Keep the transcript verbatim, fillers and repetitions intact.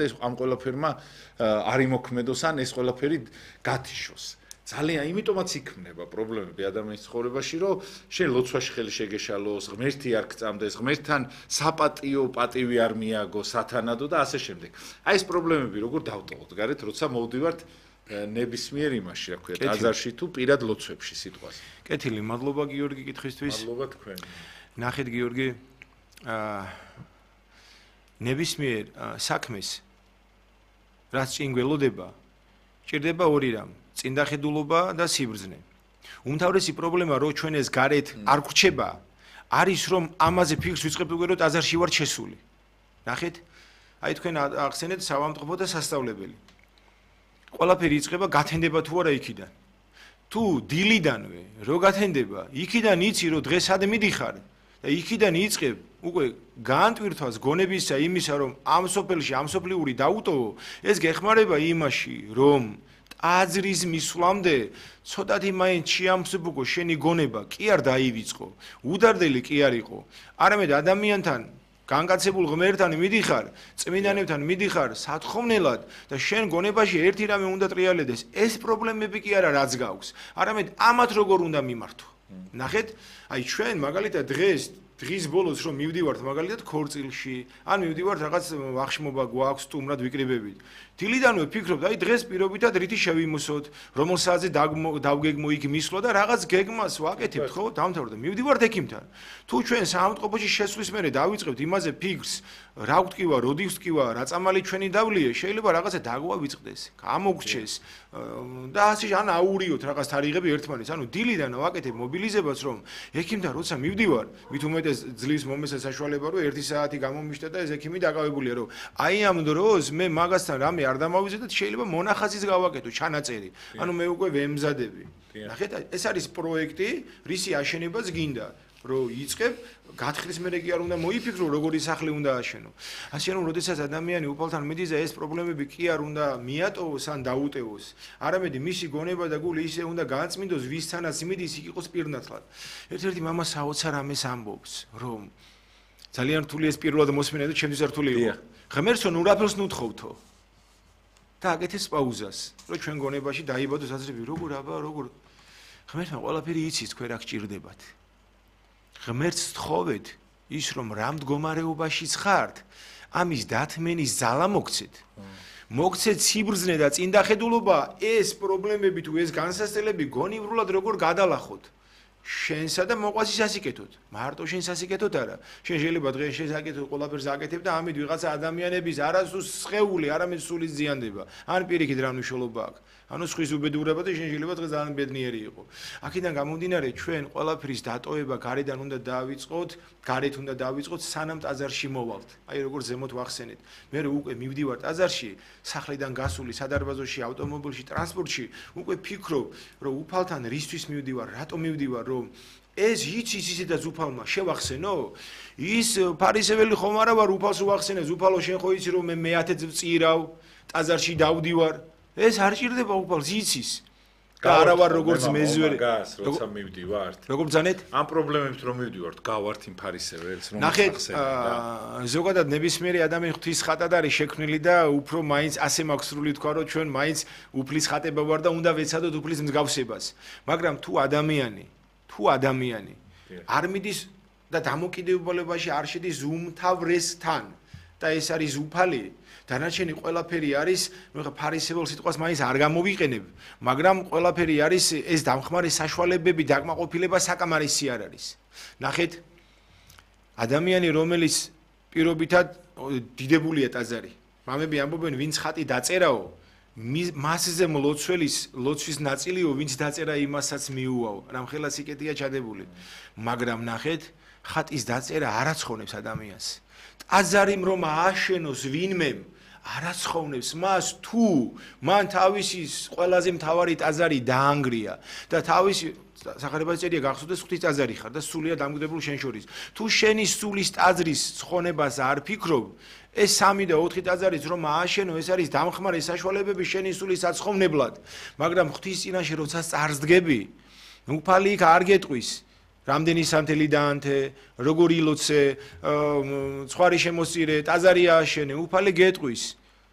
ეს ამ ყველაფერმა არ იმოქმედოს ან ეს ყველაფერი გათიშოს. ძალიან იმიტომაც იქმნება პრობლემები ადამიანის ცხოვრებაში, რომ შენ ლოცვაში ხელი შეგეშალოს, ღმერთი არ გწამდეს, ღმერთთან საპატიო პატივი არ მიაგო სათანადო და ასე შემდეგ. აი ეს პრობლემები როგორ დავტოვოთ გარეთ, როცა მოვდივართ ნებისმიერ იმაში, რა ქვია, ტაძარში თუ პირად ლოცვებში სიტყვას. კეთილი, მადლობა გიორგი კითხვისთვის. მადლობა თქვენ. ნახეთ გიორგი, აა ნებისმიერ საქმეს რაც წინ გველოდება, ჭირდება ორი რამ: წინდახედულობა და სიბრძნე. უმთავრესი პრობლემა, რომ ჩვენ ეს გარეთ არ გრჩება, არის რომ ამაზე ფიქრს ვიწყებთ უკვე რომ ტაძარში ვარ შესული. ნახეთ? აი თქვენ ახსენეთ სავამტყბო და სასწავლებელი. ყველაფერი იწყება გათენდება თუ არა იქიდან. თუ დილიდანვე რო გათენდება, იქიდან იცი რომ დღეს ად მიდიხარ და იქიდან იწყებ უკვე განტვირთვას გონებისა იმისა რომ ამ სოფელში ამ სოფლიური დაუტოვო, ეს გეხმარება იმაში რომ ტაძრის მისვლამდე ცოტათი მაინც შეამსუბუქო შენი გონება კი არ დაივიწყო, უდარდელი კი არ იყო, არამედ ადამიანთან განკაცებულ ღმერთთან მიდიხარ, წმინდანებთან მიდიხარ სათხოვნელად და შენ გონებაში ერთი რამე უნდა ტრიალდეს, ეს პრობლემები კი არა რაც გაქვს, არამედ ამათ როგორ უნდა მიმართო. ნახეთ, აი ჩვენ მაგალითად დღეს დღის ბოლოს რომ მივდივართ მაგალითად ქორწილში, ან მივდივართ რაღაც ვახშმობა გვაქვს სტუმრად ვიკრიბებით. დილიდანვე ფიქრობთ, აი დღეს პირობითად რითი შევიმოსოთ, რომელ საათზე დავგეგმო იქ მისვლა და რაღაც გეგმას ვაკეთებთ, ხო? დამთავრდა. მივდივართ ექიმთან. თუ ჩვენ საავადმყოფოში შესვლის მერე დავიწყებთ იმაზე ფიქრს, რა ვტკივა, როდი ვტკივა, რა წამალი ჩვენი დავლიე, შეიძლება რაღაცა დაგვავიწყდეს, გამოგრჩეს და ასე ან აურიოთ რაღაც თარიღები ერთმანეთს. ანუ დილიდან ვაკეთებ მობილიზებას, რომ ექიმთან როცა მივდივარ, მით უმეტეს ძლივს მომესა საშუალება, რომ ერთი საათი გამომიშთა და ეს ექიმი დაკავებულია, რომ აი ამ დროს მე მაგასთან რამე არ დამავიზედეთ, შეიძლება მონახაზის გავაკეთო ჩანაწერი. ანუ მე უკვე ვემზადები. ნახეთ, ეს არის პროექტი, რისი აშენებაც გინდა, რომ იწყებ, გათხრის მერე კი არ უნდა მოიფიქრო, როგორი სახლი უნდა აშენო. ასე რომ, როდესაც ადამიანი უფალთან მიდის და ეს პრობლემები კი არ უნდა მიატოვოს ან დაუტევოს, არამედ მისი გონება და გული ისე უნდა გააწმინდოს, ვისთანაც მიდის, იქ იყოს პირნათლად. ერთ-ერთი მამა საოცარ ამეს ამბობს, რომ ძალიან რთული ეს პირველად მოსმენა და ჩემთვის რთული იყო. ღმერთსო, ნუ რაფერს ნუთხოვთო. და აკეთეს პაუზას, რომ ჩვენ გონებაში დაიბადოს აზრები, როგორ აბა, როგორ ღმერთმა ყველაფერი იცის, თქვენ რა გჭირდებათ. ღმერთს თხოვეთ ის რომ რა მდგომარეობაში ხართ, ამის დათმენის ძალა მოგცეთ. მოგცეთ სიბრძნე და წინდახედულობა, ეს პრობლემები თუ ეს განსასწრებელი გონივრულად როგორ გადალახოთ. შენსა და მოყვასის ასიკეთოთ. მარტო შენს ასიკეთოთ არა. შენ შეიძლება დღეს შესაკეთოთ ყველაფერს აკეთებ და ამით ვიღაცა ადამიანების არასდროს სხეული, არამედ სული ზიანდება. ან პირიქით რა მნიშვნელობა აქვს. ანუ სხვის უბედურება და შენ შეიძლება დღეს ძალიან ბედნიერი იყო. აქედან გამომდინარე ჩვენ ყველაფრის დატოვება გარედან უნდა დავიწყოთ, გარეთ უნდა დავიწყოთ სანამ ტაძარში მოვალთ. აი როგორ ზემოთ ვახსენეთ. მე უკვე მივდივარ ტაძარში, სახლიდან გასული სადარბაზოში, ავტომობილში, ტრანსპორტში, უკვე ფიქრობ, რომ უფალთან რისთვის მივდივარ, რატომ მივდივარ, რომ ეს იცის ისედაც უფალმა შევახსენო? ის ფარისეველი ხომ არა ვარ უფალს უახსენებს, უფალო შენ ხო იცი რომ მე მეათე წირავ, ტაძარში დავდივარ. ეს არ ჭირდება უფალს იცის. და არა ვარ როგორც მეზვერი. როცა მივდივართ. როგორ ბძანეთ? ამ პრობლემებს რომ მივდივართ, გავართ იმ ფარისეველს, რომ ნახეთ, ზოგადად ნებისმიერი ადამიანი ღვთის ხატად არის შექმნილი და უფრო მაინც ასე მაქვს სრული თქვა, რომ ჩვენ მაინც უფლის ხატება ვარ და უნდა ვეცადოთ უფლის მსგავსებას. მაგრამ თუ ადამიანი, თუ ადამიანი არ მიდის და დამოკიდებულებაში არ შედის უმთავრესთან და ეს არის უფალი, დანარჩენი ყველაფერი არის, ნუ ხა ფარისეულ სიტყვას მაინც არ გამოვიყენებ, მაგრამ ყველაფერი არის ეს დამხმარე საშუალებები, დაკმაყოფილება საკამარისი არ არის. ნახეთ, ადამიანი რომელიც პირობითად დიდებულია ტაძარი, მამები ამბობენ, ვინც ხატი დაწერაო, მასზე მლოცველის ლოცვის ნაწილიო, ვინც დაწერა იმასაც მიუვაო, რამხელა სიკეთეა ჩადებული. მაგრამ ნახეთ, ხატის დაწერა არ აცხოვნებს ადამიანს. ტაძარი რომ ააშენოს ვინმე არაცხოვნებს მას თუ მან თავისი ყველაზე მთავარი ტაძარი დაანგრია და თავისი სახარებაში წერია გახსოვდეს ღვთის ტაძარი ხარ და სულია დამკვიდრებული შენ შორის. თუ შენი სულის ტაძრის ცხონებას არ ფიქრობ, ეს სამი და ოთხი ტაძარიც რომ ააშენო, ეს არის დამხმარე საშუალებები შენი სულის აცხოვნებლად. მაგრამ ღვთის წინაშე როცა წარსდგები, უფალი იქ არ გეტყვის. რამდენი სანთელი დაანთე, როგორ ილოცე, ცხვარი შემოსწირე, ტაძარი ააშენე, უფალი გეტყვის.